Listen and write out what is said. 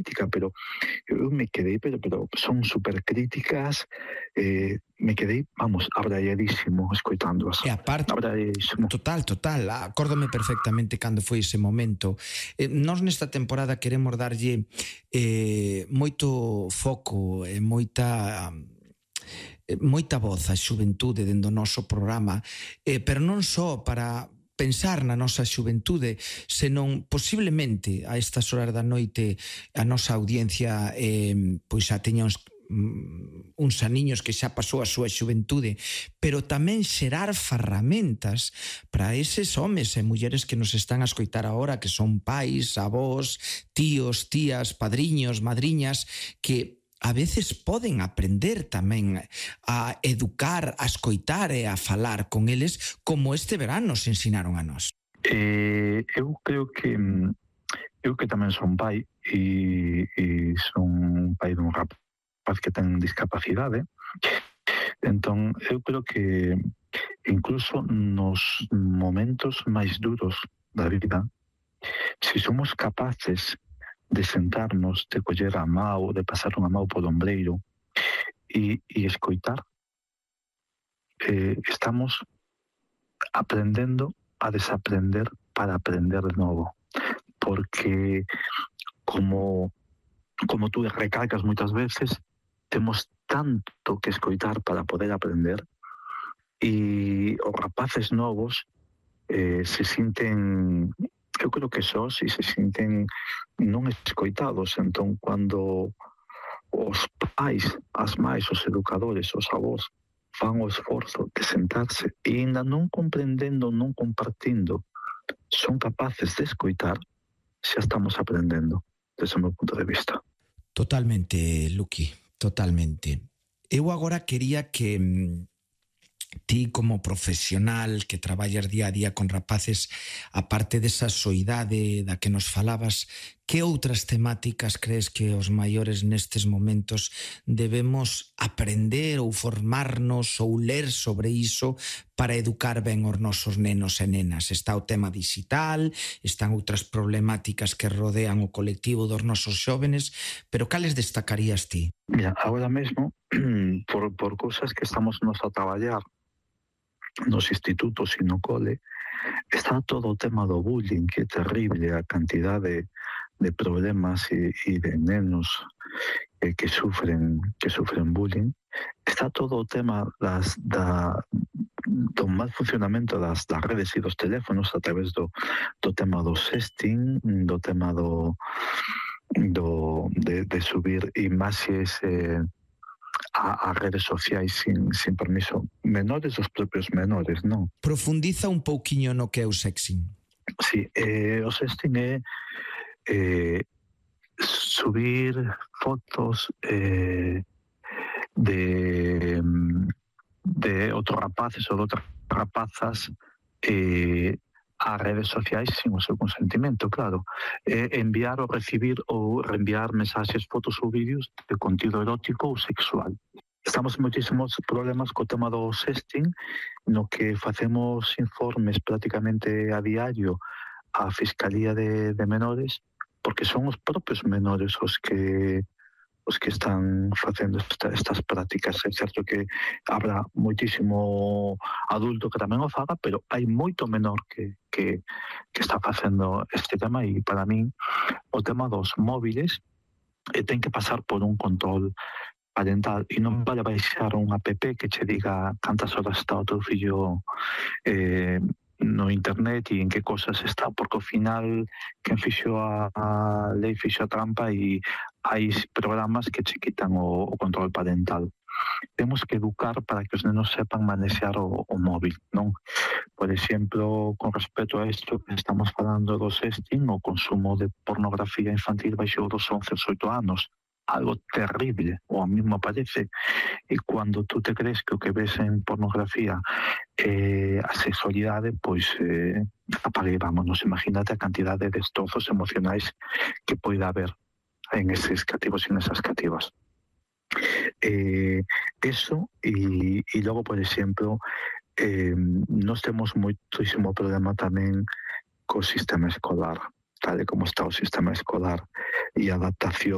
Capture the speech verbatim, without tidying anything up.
crítica, pero eu me quedei, pero, pero son super críticas, eh, me quedei, vamos, abraiadísimo escoitándoas. E aparte, abraiadísimo. total, total, acórdome perfectamente cando foi ese momento. Eh, nós nesta temporada queremos darlle eh, moito foco e moita moita voz á xuventude dentro do noso programa, eh, pero non só para pensar na nosa xuventude, senón posiblemente a estas horas da noite a nosa audiencia eh, pois xa teña uns uns aniños que xa pasou a súa xuventude, pero tamén xerar ferramentas para eses homes e mulleres que nos están a escoitar agora, que son pais, avós, tíos, tías, padriños, madriñas, que a veces poden aprender tamén a educar, a escoitar e a falar con eles como este verano nos ensinaron a nós. Eh, eu creo que eu que tamén son pai e, e son pai dun rapaz que ten discapacidade, entón eu creo que incluso nos momentos máis duros da vida, se somos capaces de sentarnos, de coller a mão, de pasar unha mão por ombreiro e, e escoitar, eh, estamos aprendendo a desaprender para aprender de novo. Porque, como, como tú recalcas moitas veces, temos tanto que escoitar para poder aprender e os rapaces novos eh, se sinten... eu creo que sós e se sinten non escoitados, entón cando os pais, as mais, os educadores, os avós fan o esforzo de sentarse e ainda non comprendendo, non compartindo, son capaces de escoitar, xa estamos aprendendo, desde o meu punto de vista. Totalmente, Luqui, totalmente. Eu agora quería que ti como profesional que traballas día a día con rapaces, aparte desa soidade da que nos falabas, que outras temáticas crees que os maiores nestes momentos debemos aprender ou formarnos ou ler sobre iso para educar ben os nosos nenos e nenas? Está o tema digital, están outras problemáticas que rodean o colectivo dos nosos xóvenes, pero cales destacarías ti? Mira, agora mesmo, por, por cousas que estamos nos a traballar nos institutos e no cole, está todo o tema do bullying, que é terrible a cantidade de problemas e, e de nenos eh, que sufren que sufren bullying. Está todo o tema das, da, do mal funcionamento das, das redes e dos teléfonos a través do, do tema do sexting, do tema do, do de, de subir imaxes eh, a, a redes sociais sin, sin permiso, menores dos propios menores, non? Profundiza un pouquiño no que é o sexting. Sí, eh, o sexting é eh, subir fotos eh, de de outros rapaces ou de outras rapazas eh, a redes sociais sin o seu consentimento, claro. Eh, enviar ou recibir ou reenviar mensaxes, fotos ou vídeos de contido erótico ou sexual. Estamos en moitísimos problemas co tema do sexting, no que facemos informes prácticamente a diario á Fiscalía de, de Menores, porque son os propios menores os que os que están facendo esta, estas prácticas. É certo que habrá moitísimo adulto que tamén o faga, pero hai moito menor que, que, que está facendo este tema, e para min o tema dos móviles eh, ten que pasar por un control parental e non vale baixar un app que che diga cantas horas está o teu fillo eh, no internet e en que cosas está, porque ao final quen fixo a, a lei fixo a trampa e hai programas que che quitan o, o control parental. Temos que educar para que os nenos sepan manexar o, o móvil, non? Por exemplo, con respecto a isto que estamos falando do sexting, o consumo de pornografía infantil baixou dos once aos oito anos, algo terrible, o a mí me parece, e cando tú te crees que o que ves en pornografía eh, a sexualidade, pois eh, apague, vámonos, imagínate a cantidad de destrozos emocionais que poida haber en eses cativos e en esas cativas. Eh, eso, e, e logo, por exemplo, eh, nós temos moitísimo problema tamén co sistema escolar, tal e como está o sistema escolar e a adaptación